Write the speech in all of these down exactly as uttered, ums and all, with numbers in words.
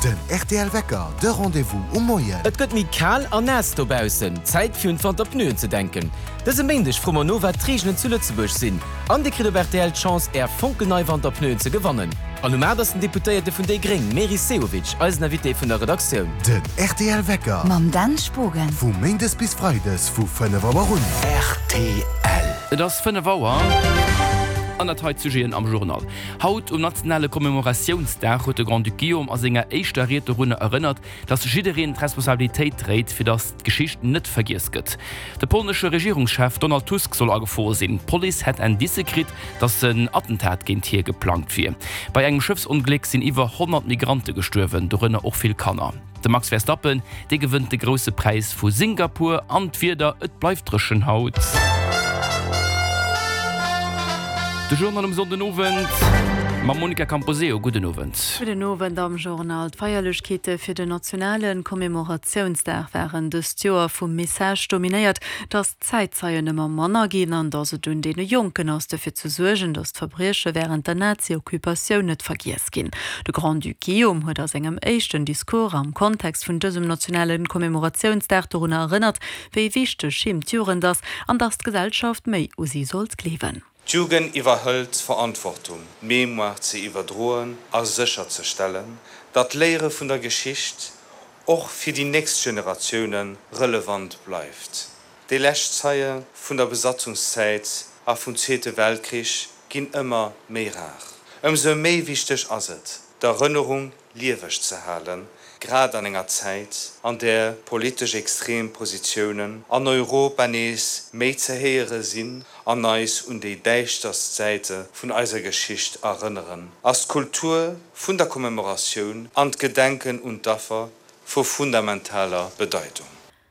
Den rtl Wecker, de Rendez-vous um Moien. Et gëtt méi kal an naass dobaussen, Zäit fir un d'Wanterpneuen ze denken. Dëse Méindeg froe mer no wat d'Reegelen zu Lëtzebuerg sinn. An Dir kritt op rtl d'Chance Är fonkelnei Wanterpneuen ze gewannen. An um aacht ass den Deputéierte vun déi Gréng Meris Sehovic eisen Invité vun der Redaktioun. Den rtl Wecker. Mam Dan Spogen. Vu méindes bis freides vu fënnef Auer un. Rtl. Et ass fënnef Auer. An dat hei d'Sujeten am Journal. Haut um nationale Commemoratiounsdag huet de Grand-Duc Guillaume a senger éischter Ried dorunner erënnert, datt jiddereen d'Responsabilitéit dréit, fir datt d'Geschicht net vergiess gëtt. De polnesche Regierungschef Donald Tusk soll a Gefor sinn. D'Police hätt Indicë kritt, datt en Attentat géint hie geplangt wier. Bei engem Schëffsongléck sinn iwwer honnert Migrante gestuerwen, dorënner och vill Kanner. De Max Verstappen, dee gewënnt de Grousse Präis vu Singapur. An d'Wieder, Et bleift dréchen haut. De Journal um Sonndenowend mam Monica Camposeo. Gudden Owend. Gudden Owend am Journal. D'Feierlechkeete fir den nationale Commemoratiounsdag waren dëst Joer vum Message dominéiert, datt d'Zäitzeien ëmmer manner ginn an datt et un deene Jonken ass, dofir ze suergen, datt d'Verbrieche wärend der Nazi-Occupatioun net vergiess ginn. De Grand-Duc Guillaume huet a sengem éischten Discours am Kontext vun dësem nationale Commemoratiounsdag dorunner erënnert, wéi wichteg him d'Jugend ass an datt d'Gesellschaft méi u si sollt gleewen. D'Jugend iwwerhëlt d'Verantwortung, d'Mémoire ze iwwerdroen a sécherzestellen, datt d'Léiere vun der Geschicht och fir déi nächst Generatioune relevant bleift. Déi lescht Zeie vun der Besatzungszäit a vum Zweete Weltkrich ginn ëmmer méi rar. Ëmsou méi wichteg ass et, d'Erënnerung lieweg ze halen, grad an enger Zäit, an där politesch extrem Positiounen an Europa nees méi ze héiere sinn an eis un déi däischterst Säite vun eiser Geschicht erënneren, ass d'Kultur vun der Commemoratioun an d'Gedenken un d'Affer vu fundamentaler Bedeitung.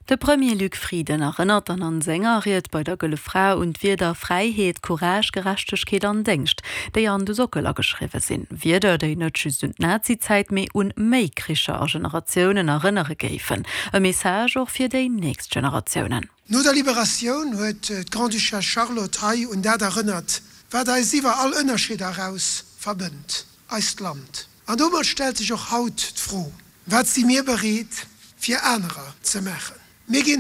De Premier Luc Frieden erënnert dann an senger Ried bei der Gëlle Fra un d'Wierder Fräiheet, Courage, Gerechtegkeet an Déngscht, déi an de Sockel ageschriwwe sinn. Wierder, déi net just un d'Nazi-Zäit, mee un méi Kricher a Generatiounen erënnere géifen. E Message och fir déi nächst Generatiounen. No der Liberatioun huet d'Grande-Duchesse Charlotte hei un dat erënnert, wat eis iwwer all Ënnerscheeder eraus verbënnt, eist Land. An domat stellt sech och haut d'Fro, Wat si mir bereet, fir anerer ze maachen? Mir ginn